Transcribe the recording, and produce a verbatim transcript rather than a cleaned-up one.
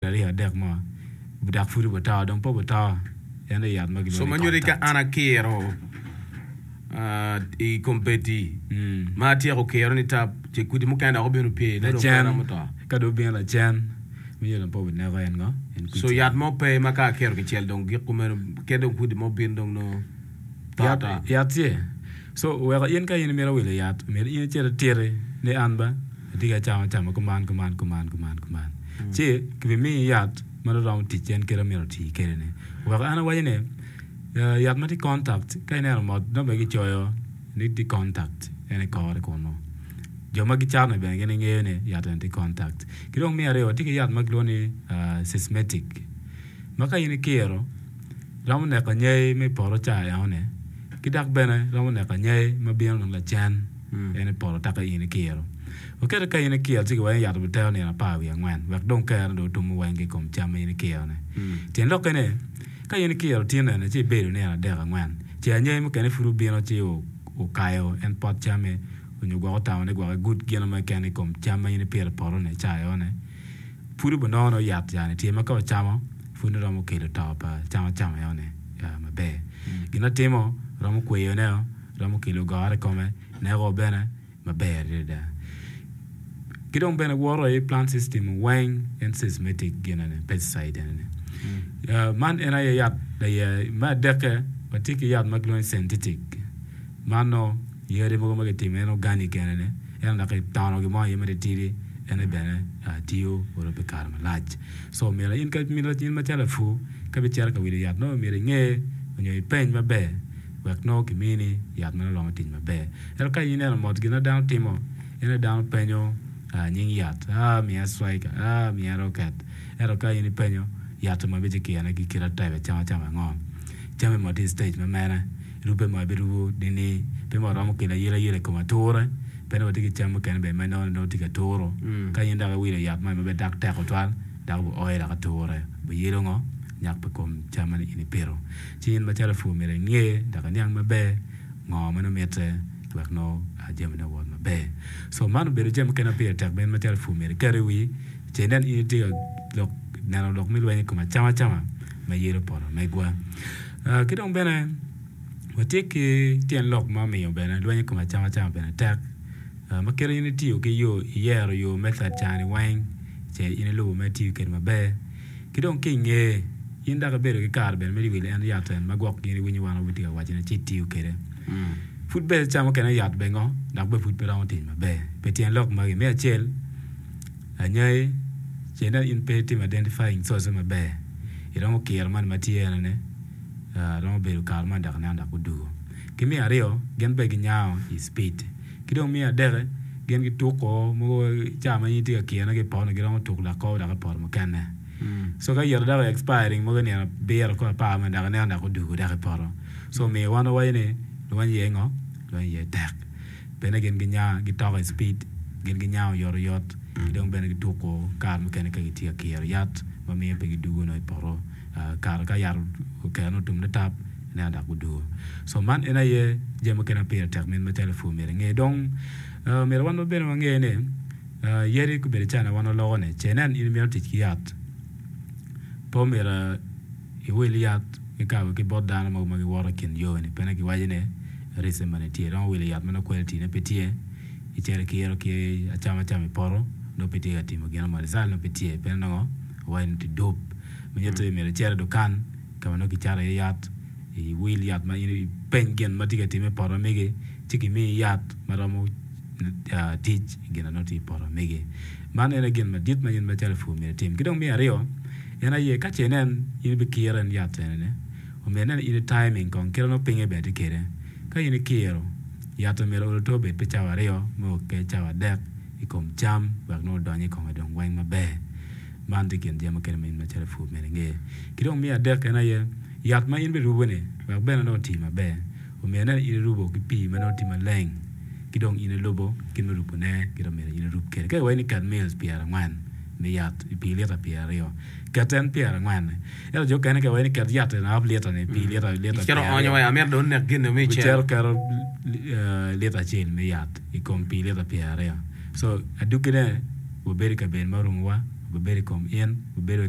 Aryo adek mo dok pud obuto dong pe obuto en aye yat ma So gilwongo ma ni nyuto ka contact. an akiro ah, i kombeddi Mm. ma atyeko kiro ni tap ce kudi mukene dok obino pye nongo dong pe Lacen romo to. ka dong obino lacen miyo dong pe obineko en ngo en So kwicel. yat mo pe ma ka akiro kicel dong gik kumeno kadi dong kudi mo obin dong nongo to Yat ata. yat tye so weko in ka in imito wilo yat myero in icit ititi ni an ba atye ka camo acama kuman kuman kuman kuman kuman ci kibimiyi yat ma dong romo tic en kite myero oti kwede ni weko an awaco ni eh, yat ma tye contact ka ineno mot nongo bene kicoyo ni tye contact en i kore kunu jo ma gicato ni bene gin gingeyo ni yat eni tye contact ki dong me aryo tye ki yat ma kilwongo ni ah, systematic ma ka in ikiro romo neko anyai me poto ca enoni ki dok bene romo neko anyai ma bino dong lacen en i poto taka in ikiro oketo ka in ikiro ci kiwaco ni yat obitero nino apar wiye angwen wek dong kerone dong otum weng ki i kom cam ma in ikiro-ni tyen lokke ni ka in ikiro tin eni ci ibedo nino adek angwen ce anyai mukene pud obino ci okayo en pot camme onyo gwok otamo ni gwok egud gino mo keken i kom cam ma in ipito i poto-ni ca enoni pud obinongo nongo yat yani tye ma ka ocamo pud romo kelo to pa cam acama enoni maber gin atimo romo kweyoneo romo kelo goro i kome neko bene maber adada ki dong bene woto i plant system weng en systematic ginene pesticide enini Uh, man en aye yat aye me adekke watye ki yat ma kilwongo ni synthetic man nongo yadi mogo ma kitimo en organic enini ento dok kitono gin mo iye matitidi ene bene uh, tiyo olo pi kare malac so myero in ka in macalo lapur ka bicito ka wilo yat nongo myero inge onyo ipeny maber wek nongo kimini yat ma nongo romo tic maber ento ka in ineno mot gin ma dano timo en aye dano penyo uh, nying yat ah miya striker ah miya rocket ento ka in ipenyo yat ma bicikirone ki kit type acam acama ango came mo tye i stage ma mene rube mo ibirubo nini pe mo romo kelo ayelayela i kom ature pe ni watye ki cam mukene bene ma inongo nongo tye ka turo ka in dok iwilo yat man ma bene dok tek tutwal dok oyo dok ature biyelo ngo nyak pa kom cam ma in ipito ci in macalo lapur myero inge dok iniang maber ngo ma nongo mitte wek nongo jamine owot maber so man obedo jami mukene ma pire tek bene macalo lapur myero iket i wi ce inen in itye ka lok neno lok me lweny i kom acam acama ma yelo poto megwa uh, ki dong bene watye ki tyen lok ma omiyo bene lweny i kom acam acama bene tek uh, ma kit in itiyo ki yo iyero yo method cani weng ce in ilubo ma itiyo kwede maber ki dong ki inge in dok ibedo ki kare bene me wilo en yat en ma gwok in iwinyo wan watye ka wacone ci itiyo kwede pud bene ca mukene yat bene ngo dok bene pud pe romo tic maber pi tyen lok magi me acel anyai ce inen in pe itimo identifying source maber iromo kiro man ma tye enoni uh, romo bedo kare man dok ineno dok odugo ki me aryo gin bene ginyango i speed ki dong me adeke gin gituko mogo ca ma in itye ka kirone ki i poto giromo tuko dok ko dok i poto mukene so ka yito dok expiring mogo nino abiro ko apar ma dok ineno dok odugo dok i poto so omiyo wan wawaco ni lweny iye ngo lweny iye tek bene gin ginya gitoko i speed gin ginyango oyotoyot ki dong bene gituko kare mukene ka gitye ka kiro yat ma miyo pe gidugo nongo i poto uh, kare ka yat okero otum litap ineno dok gudugo so man en aye jami mukene ma pire tek min macalo lapur myero inge dong uh, myero wan bene wange ni uh, yadi kobedo cana wan waloko ni ce inen in imito tic ki yat pe omyero iwil yat kikabo ki bot dano mogo ma giwoto i kin yo ni pene kiwaco ni risk mani tye iromo wilo yat ma nongo quality ne pe tye icito ikiro ki acam acama i poto nongo pe tye ka timo gino mo result nongo pe tye pien nongo owaco ni tye dop manyuto ni myero icit i dukan ka ma nongo kicato iye yat iwil yat ma in ipeny gin ma tye ka timme i poto megi ci kimiyi yat ma romo uh, tic i gin na nongo tye i poto megi man en aye gin madit ma in macalo lapur myero itim ki dong me aryo en aye ka ce inen in ibikiro en yat enini omyero inen in i timing kong kite nongo pinye bene tye kwede ka in ikiro yat omyero olo to obed pi cawa aryo me oke cawa adek i kom cam wek nongo odony i kome dong weng maber man tye kin jami mukene ma in macalo lapur myero inge ki dong me adek en aye yat ma in birubo-ni wek bene nongo oti maber omyero inen in irubo ki pii ma nongo tye maleng ki dong in ilubo kit me rubone kit omyero in irub kwede ka iwaco ni ket mils pyerangwen me yat i pii lita pyeraryo ket en pyerangwen ento jo okene ka iwaco ni ket yat en half lita ni pii lita lita Icito onyo we amito dong onek gin mi cel. Bicito keto uh, lita acel me yat i kom pii lita pyeraryo so adugine wabedo i kabedo ma orumowa Obibedo i kom in, obibedo i kom.